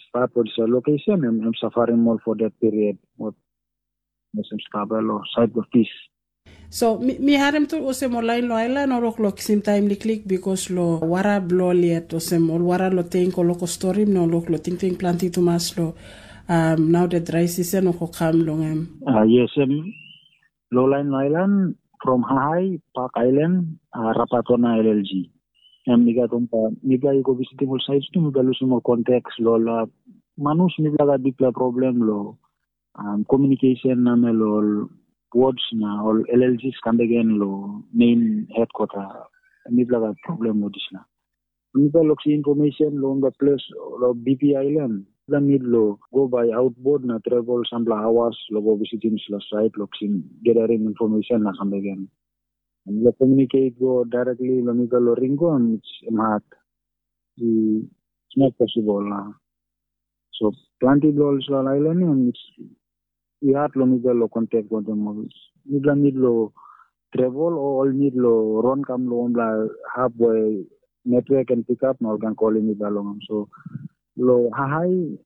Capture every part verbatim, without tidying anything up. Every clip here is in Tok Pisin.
Stap ol sa location em, em safarim ol for that period. What em stap lo side of peace. So mi, mi harim tu olsem ol lain lo ailan ol wok lo kisim taim liklik because lo wara blo ol yet olsem ol wara lo tank ol wok storim na ol wok lo tingting planti tumas lo um, now the dry season wok kam long em. Uh, yes, em lo lain lo ailan from Hahai, Park Island, uh, Rapatona L L G. Em mi gat on pa mi ga i go visitim ol sites tu mi ga lusim ol contacts lo la manus mi ga bikla problem lo um, communication namel ol wards na ol L L Gs kam bek gen lo main headquarter. Mipela gat problem lo dispela. Mipela lok si information lo the place lo B P Island. Mipela need lo go by outboard na travel sampela hours lo go visiting sila site lo kisim gathering information na kam bek gen. Lo communicate go directly lo mipela lo ring go em it's em hard. It's not possible. Uh. So planti bilong ol Israel island ni it's i hat long mipela lo kontak wantaim ol. Mipela nid lo travel o ol nid lo ron kam lo wanpela hap we network and pick up na ol kan kolim mipela long am. So lo hahai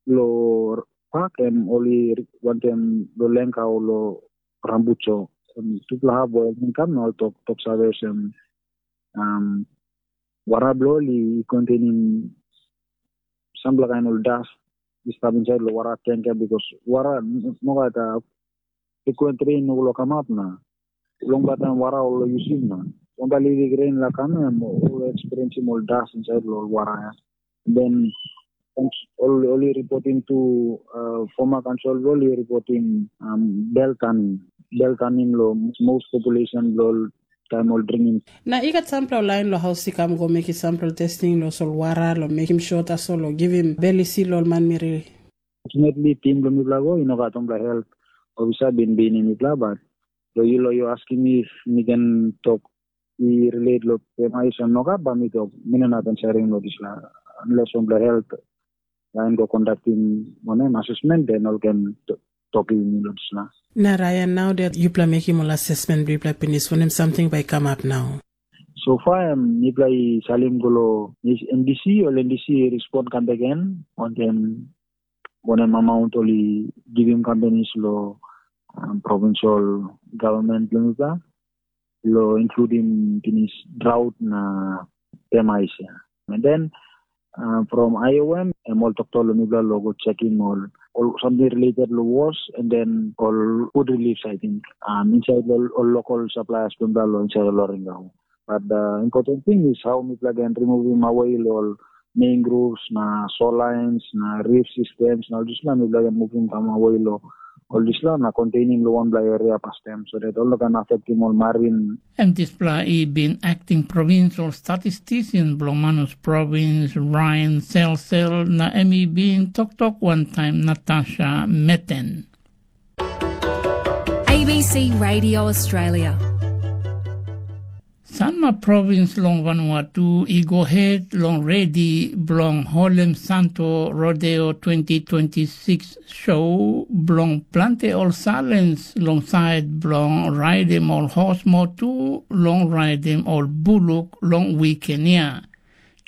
lo pak em ol i wantaim lo lengkau lo rambucho. Tupela hap we ol kan kam na ol tok tok save olsem um, wara bilong ol i kontainim sampela kain ol das i stap insait long wara tanker bikos wara no gat frequent rain no lo kamap na long taim wara ol yusim na wanpela liklik rain la kam em ol experienceim ol das insait long wara ya. Then ol ol i reporting to uh, former council ol i reporting um, bel tanim bel tanim lo most population lo taim ol dringim. Na i gat sampela lain lo haus i kam go mekim sampela testing lo solwara lo mekim sure tasol lo givim bel isi lo ol manmeri. Fortunately tim lo mipela go i no gat ompela health ofisa bin binim mipela but lo yu lo yu askim mi if mi ken tok i relate lo pemais o nogat ba mi tok mi no inap ansering lo dispela unless ompela health lain go conductim wanem assessment then ol ken tokim mi lo dispela. Na Ryan, nau dat yupela mekim ol assessment bilong yupela pinis, wanem samting bai i kamap nau? So far em mipela i salim go lo M D C, ol M D C i respond kam bek gen wantaim wanem amount ol i givim companies lo um, provincial government bilong mipela lo including pinis drought na pemais ya. And then uh, from I O M em ol toktok lo mipela lo go checking ol ol something related lo wars and then ol food reliefs I think um, inside ol, ol local suppliers pun lo inside ol Loringau. But the important thing is how mipela can removing away ol mangroves na soil lines na reef systems na ol dispela mipela can moving kam away lo ol dispela na containing lo wanpela area pastem so that ol no can affecting ol marine. Em dispela i bin acting provincial statistician bilong Manus Province, Ryan Selsel, na em i bin toktok wantaim Natasha Meten. A B C Radio Australia. Sanma provins long Vanuatu i go het long redi bilong holem Santo Rodeo twenty twenty-six show bilong planti ol salens long sait bilong raidim ol hos motu long raidim ol buluk long wiken ya.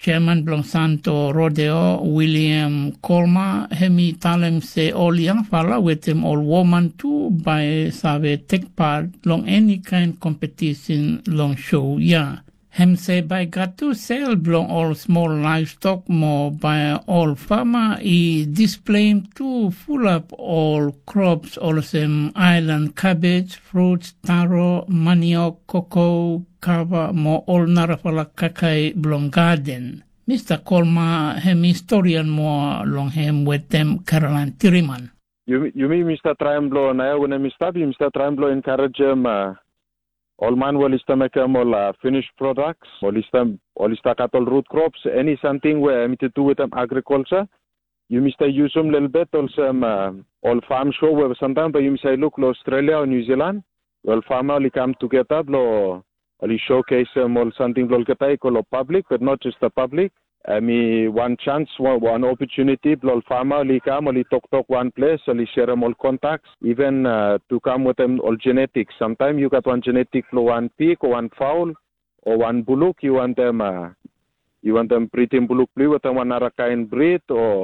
Chairman bilong Santo Rodeo, William Kolma, em i talem se ol yangpela wetem ol woman tu bai save tek pat long eni kain kompetisin long show ya. Em se bai gat tu sel bilong ol smol laivstok mo bai ol fama i displeim tu fulap ol krops olsem ailan kabej, fruts, taro, maniok, koko, kava mo ol narapela kaikai bilong gaden. Mista Kolma em historian moa long em wetem Caroline Tiriman. Yumi, yumi mi start traim bilong nau wanem mi stap, yumi start traim bilong encouragem uh, ol man ol i stap mekim ol uh, finished products, ol i stap ol i stap gat ol root crops, any something where em i tu wetem agriculture. Yumi stap yusim lelbet olsem uh, ol farm show where sometimes bai yumi sai look lo Australia o New Zealand. Ol farmer ol i kam together lo ol i showcase um, ol something bilong olgeta i go lo public, but not just the public. Em i wan chance, wan, wan opportunity bilong ol farmer ol i kam, ol i toktok wan ples, ol i sharim ol contacts, even uh, to come with them ol genetics. Sometimes you got one genetic bilong one pig or one fowl or one buluk, you want them uh, you want them breeding buluk blue with one other kind breed or